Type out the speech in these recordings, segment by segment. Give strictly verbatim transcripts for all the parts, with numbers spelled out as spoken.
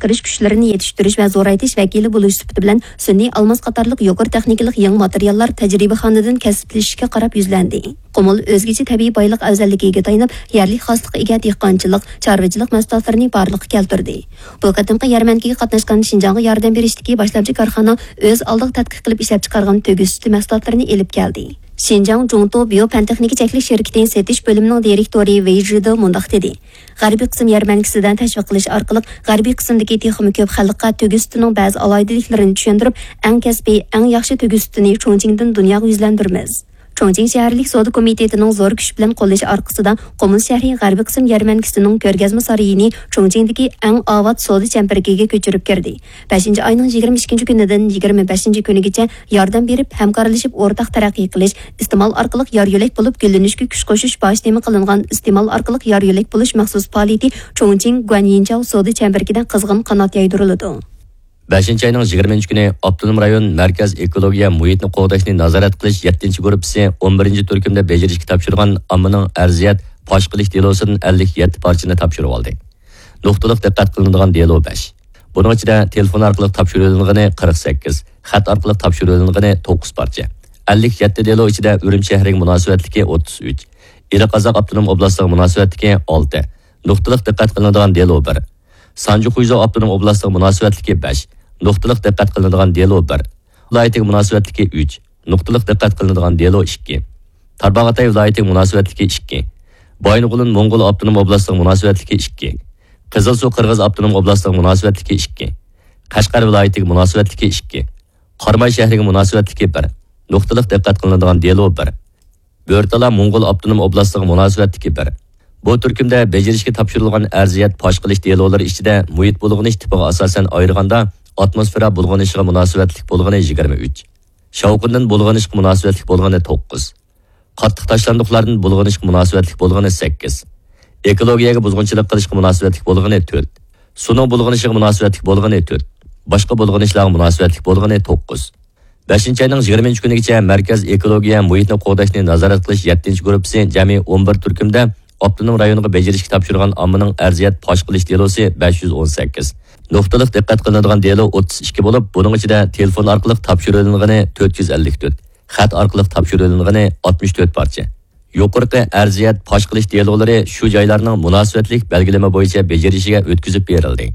ئىشلەپچىقىرىش كۈچلىرىنى يېتىشتۈرۈش ۋە زورايتىش ۋەكىلى بولۇش سۈپىتى بىلەن سۈنئىي ئالماس قاتارلىق يۇقىرى تېخنىكىلىق يېڭى ماتېرىياللار تەجرىبىخانىدىن كەسىپلىشىشكە قاراپ يۈزلەندى. قۇمۇل ئۆزگىچە تەبىئىي بايلىق ئەۋزەللىكىگە تايىنىپ، يەرلىك خاسلىققا ئىگە دېھقانچىلىق، چارۋىچىلىق مەھسۇلاتلىرىنى بارلىققا كەلتۈردى. بۇ قېتىمقى يەرمەنكىگە قاتناشقان شىنجاڭغا ياردەم بېرىشتىكى باشلامچى كارخانا ئۆز ئالدىغا تەتقىق قىلىپ ئىشلەپچىقارغان تۆگە سۈتى مەھسۇلاتلىرىنى ئېلىپ كەلدى. شىنجاڭ جۇڭتو بىيو پەن تېخنىكا چەكلىك شىركىتىنىڭ سېتىش بۆلۈمىنىڭ دىرېكتورى ۋېي ژىدې مۇنداق دېدى: غەربىي قىسىم يەرمەنكىسىدە تەشۋىق قىلىش ئارقىلىق، غەربىي قىسىمدىكى تېخىمۇ كۆپ خەلققە تۆگە سۈتىنىڭ بەزى ئالاھىدىلىكلىرىنى چۈشەندۈرۈپ، ئەڭ كەسپىي، ئەڭ ياخشى تۆگە سۈتىنى چۇڭچىڭدىن دۇنياغا يۈزلەندۈرىمىز. چۇڭچىڭ شەھەرلىك سودا كومىتېتىنىڭ زور كۈچ بىلەن قوللىشى ئارقىسىدا، قۇمۇل شەھىرى غەربىي قىسىم يەرمەنكىسىنىڭ كۆرگەزمە سارىيىنى چۇڭچىڭدىكى ئەڭ ئاۋات سودا چەمبىرىكىگە كۆچۈرۈپ كىردى. بەشىنچى ئاينىڭ يىگىرمە ئىككىنچى كۈنىدىن يىگىرمە بەشىنچى كۈنىگىچە ياردەم بېرىپ، ھەمكارلىشىپ ئورتاق تەرەققىي قىلىش، ئىستېمال ئارقىلىق يار يۆلەك بولۇپ گۈللىنىشكە كۈچ قوشۇش باش تېما قىلىنغان ئىستېمال ئارقىلىق يار يۆلەك بولۇش مەخسۇس پائالىيىتى چۇڭچىڭ گۇەنيىنچاۋ سودا چەمبىرىكىدە قىزغىن قانات يايدۇرۇلىدۇ. بەشىنچى ئاينىڭ يىگىرمىنچى كۈنى ئاپتونوم رايون مەركەز ئېكولوگىيە مۇھىتنى قوغداشنى نازارەت قىلىش يەتتىنچى گۇرۇپپىسى ئون بىرىنچى تۈركۈمدە بېجىرىشكە تاپشۇرغان ئاممىنىڭ ئەرزىيەت پاش قىلىش دېلوسىدىن ئەللىك يەتتە پارچىنى تاپشۇرۇۋالدى. نۇقتىلىق دىققەت قىلىنىدىغان دېلو بەش. بۇنىڭ ئىچىدە تېلېفون ئارقىلىق تاپشۇرۇۋېلىنغىنى قىرىق سەككىز، خەت ئارقىلىق تاپشۇرۇۋېلىنغىنى توققۇز پارچە. ئەللىك يەتتە دېلو ئىچىدە ئۈرۈمچى شەھىرىگە مۇناسىۋەتلىكى ئوتتۇز ئۈچ، ئىلى قازاق ئاپتونوم ئوبلاستىغا مۇناسىۋەتلىكى ئالتە، نۇقتىلىق دىققەت قىلىنىدىغان دېلو بىر، سانجى خۇيزۇ ئاپتونوم ئوبلاستىغا مۇناسىۋەتلىكى بەش، نۇقتىلىق دىققەت قىلىنىدىغان دېلو بىر، ۋىلايىتىگە مۇناسىۋەتلىكى ئۈچ، نۇقتىلىق دىققەت قىلىنىدىغان دېلو ئىككى، تارباغاتاي ۋىلايىتىگە مۇناسىۋەتلىكى ئىككى، بايىنغولىن موڭغۇل ئاپتونوم ئوبلاستىغا مۇناسىۋەتلىكى ئىككى، قىزىلسۇ قىرغىز ئاپتونوم ئوبلاستىغا مۇناسىۋەتلىكى ئىككى، قەشقەر ۋىلايىتىگە مۇناسىۋەتلىكى ئىككى، قاراماي شەھىرىگە مۇناسىۋەتلىكى بىر، نۇقتىلىق دىققەت قىلىنىدىغان دېلو بىر، بۆرتالا موڭغۇل ئاپتونوم ئوبلاستىغا مۇناسىۋەتلىكى بىر. بۇ تۈركۈمدە بېجىرىشكە تاپشۇرۇلغان ئەرزىيەت پاش قىلىش دېلولىرى ئىچىدە مۇھىت بۇلغىنىش تىپىغا ئاساسەن ئايرىغاندا، ئاتموسفېرا بۇلغىنىشىغا مۇناسىۋەتلىك بولغىنى يىگىرمە ئۈچ، شاۋقۇندىن بۇلغىنىشقا مۇناسىۋەتلىك بولغىنى توققۇز، قاتتىق تاشلاندۇقلاردىن بۇلغىنىشقا مۇناسىۋەتلىك بولغىنى سەككىز، ئېكولوگىيەگە بۇزغۇنچىلىق قىلىشقا مۇناسىۋەتلىك بولغىنى تۆت، سۇنىڭ بۇلغىنىشىغا مۇناسىۋەتلىك بولغىنى تۆت، باشقا بۇلغىنىشلارغا مۇناسىۋەتلىك بولغىنى توققۇز. بەشىنچى ئاينىڭ يىگىرمىنچى كۈنىگىچە مەركەز ئېكولوگىيە مۇھىتنى قوغداشنى نازارەت قىلىش يەتتىنچى گۇرۇپپىسى جەمئىي ئون بىر تۈركۈمدە ئاپتونوم رايونغا بېجىرىشكە تاپشۇرغان ئاممىنىڭ ئەرزىيەت پاش قىلىش دېلوسى بەش يۈز ئون سەككىز، نۇقتىلىق دىققەت قىلىنىدىغان دېلو ئوتتۇز ئىككى بولۇپ، بۇنىڭ ئىچىدە تېلېفون ئارقىلىق تاپشۇرۇۋېلىنغىنى تۆت يۈز ئەللىك تۆت، خەت ئارقىلىق تاپشۇرۇۋېلىنغىنى ئاتمىش تۆت پارچە. يۇقىرىقى ئەرزىيەت پاش قىلىش دېلولىرى شۇ جايلارنىڭ مۇناسىۋەتلىك بەلگىلىمە بويىچە بېجىرىشىگە ئۆتكۈزۈپ بېرىلدى.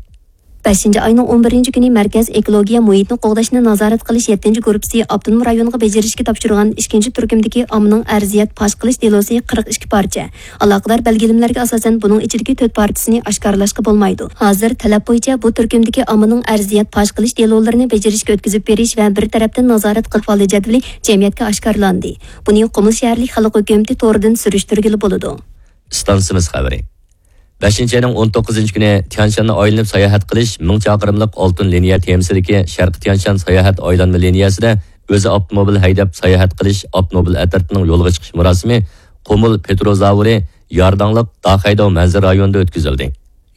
بەشىنچى ئاينىڭ ئون بىرىنچى كۈنى مەركەز ئېكولوگىيە مۇھىتنى قوغداشنى نازارەت قىلىش يەتتىنچى گۇرۇپپىسى ئاپتونوم رايونغا بېجىرىشكە تاپشۇرغان ئىككىنچى تۈركۈمدىكى ئاممىنىڭ ئەرزىيەت پاش قىلىش دېلوسى قىرىق ئىككى پارچە. ئالاقىدار بەلگىلىمىلەرگە ئاساسەن، بۇنىڭ ئىچىدىكى تۆت پارچىسىنى ئاشكارىلاشقا بولمايدۇ. ھازىر تەلەپ بويىچە بۇ تۈركۈمدىكى ئاممىنىڭ ئەرزىيەت پاش قىلىش دېلولىرىنى بېجىرىشكە ئۆتكۈزۈپ بېرىش ۋە بىر تەرەپتىن نازارەت قىلىپ ئالىش جەدۋىلى جەمئىيەتكە ئاشكارىلاندى. بۇنى قۇمۇل شەھەرلىك خەلق ھۆكۈمىتى تورىدىن سۈرۈشتۈرگىلى بولىدۇ. ئىستانسىمىز خەۋىرى. بەشىنچى ئاينىڭ ئون توققۇزىنچى كۈنى تيانشاننى ئايلىنىپ ساياھەت قىلىش مىڭ چاقىرىملىق ئالتۇن لىنىيە تېمىسىدىكى شەرقىي تيانشان ساياھەت ئايلانما لىنىيەسىدە ئۆزى ئاپتوموبىل ھەيدەپ ساياھەت قىلىش ئاپتوموبىل ئەترىتىنىڭ يولغا چىقىش مۇراسىمى قۇمۇل پېتروزاۋرى يارداڭلىق داخەيداۋ مەنزىرە رايونىدا ئۆتكۈزۈلدى.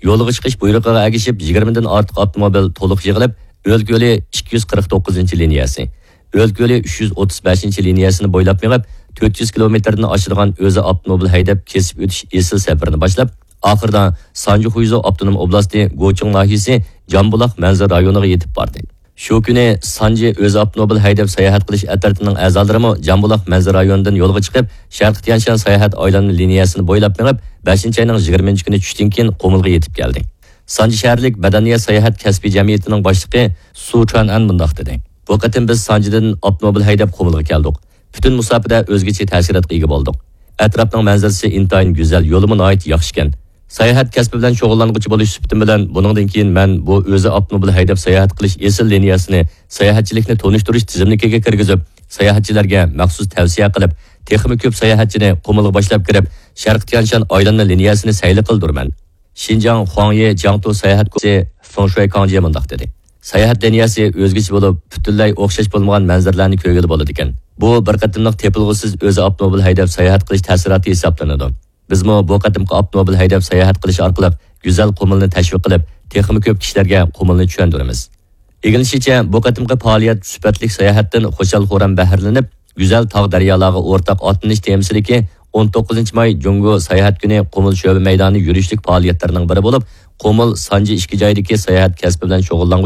يولغا چىقىش بۇيرۇقىغا ئەگىشىپ، يىگىرمىدىن ئارتۇق ئاپتوموبىل تولۇق يىغىلىپ، ئۆلكە يولى ئىككى يۈز قىرىق توققۇزىنچى لىنىيەسى، ئۆلكە يولى ئۈچ يۈز ئوتتۇز بەشىنچى لىنىيەسىنى بويلاپ مېڭىپ، تۆت يۈز كىلومېتىردىن ئاشىدىغان ئۆزى ئاپتوموبىل ھەيدەپ كېسىپ ئۆتۈش ئېسىل سەپىرىنى باشلاپ، ئاخىرىدا سانجى خۇيزۇ ئاپتونوم ئوبلاستى گوچىڭ ناھىيىسى جامبۇلاق مەنزىرە رايونىغا يېتىپ باردى. شۇ كۈنى سانجى ئۆزى ئاپتوموبىل ھەيدەپ ساياھەت قىلىش ئەترىتىنىڭ ئەزالىرىمۇ جامبۇلاق مەنزىرە رايونىدىن يولغا چىقىپ، شەرقىي تيانشان ساياھەت ئايلانما لىنىيەسىنى بويلاپ مېڭىپ، بەشىنچى ئاينىڭ يىگىرمىنچى كۈنى چۈشتىن كېيىن قۇمۇلغا يېتىپ كەلدى. سانجى شەھەرلىك مەدەنىيەت ساياھەت كەسپىي جەمئىيىتىنىڭ باشلىقى سۇ چۈەنئەن مۇنداق دېدى: بۇ قېتىم بىز سانجىدىن ئاپتوموبىل ھەيدەپ قۇمۇلغا كەلدۇق. پۈتۈن مۇساپىدە ئۆزگىچە تەسىراتقا ئىگە بولدۇق. ئەتراپنىڭ مەنزىرىسى ئىنتايىن گۈزەل، يولىمۇ ناھايىتى ياخشىكەن. ساياھەت كەسپى بىلەن شۇغۇللانغۇچى بولۇش سۈپىتىم بىلەن، بۇنىڭدىن كېيىن مەن بۇ ئۆزى ئاپتوموبىل ھەيدەپ ساياھەت قىلىش ئېسىل لىنىيەسىنى ساياھەتچىلىكنى تونۇشتۇرۇش تىزىملىكىگە كىرگۈزۈپ، ساياھەتچىلەرگە مەخسۇس تەۋسىيە قىلىپ، تېخىمۇ كۆپ ساياھەتچىنى قۇمۇلغا باشلاپ كىرىپ، شەرقىي تيانشان ئايلانما لىنىيەسىنى سەيلە قىلدۇرىمەن. شىنجاڭ خۇاڭيې جياڭتۇ ساياھەت گۇرۇپپىسى فېڭشۇي كاڭجى مۇنداق دېدى: ساياھەت لىنىيەسى ئۆزگىچە بولۇپ، پۈتۈنلەي ئوخشاش بولمىغان مەنزىرىلەرنى كۆرگىلى بولىدىكەن. بۇ بىر قېتىملىق تېپىلغۇسىز ئۆزى ئاپتوموبىل ھەيدەپ ساياھەت قىلىش تەسىراتى ھېسابلىنىدۇ. بىزمۇ بۇ قېتىمقى ئاپتوموبىل ھەيدەپ ساياھەت قىلىش ئارقىلىق گۈزەل قۇمۇلنى تەشۋىق قىلىپ، تېخىمۇ كۆپ كىشىلەرگە قۇمۇلنى چۈشەندۈرىمىز. ئىگىلىنىشىچە، بۇ قېتىمقى پائالىيەت سۈپەتلىك ساياھەتتىن خۇشال-خۇرام بەھرىلىنىپ، گۈزەل تاغ-دەريالارغا ئورتاق ئاتلىنىش تېمىسىدىكى ئون توققۇزىنچى ماي جۇڭگو ساياھەت كۈنى قۇمۇل شۆبە مەيدانى يۈرۈشلۈك پائالىيەتلىرىنىڭ بىرى بولۇپ، قۇمۇل، سانجى ئىككى جايدىكى ساياھەت كەسپى بىلەن شۇغۇللانغان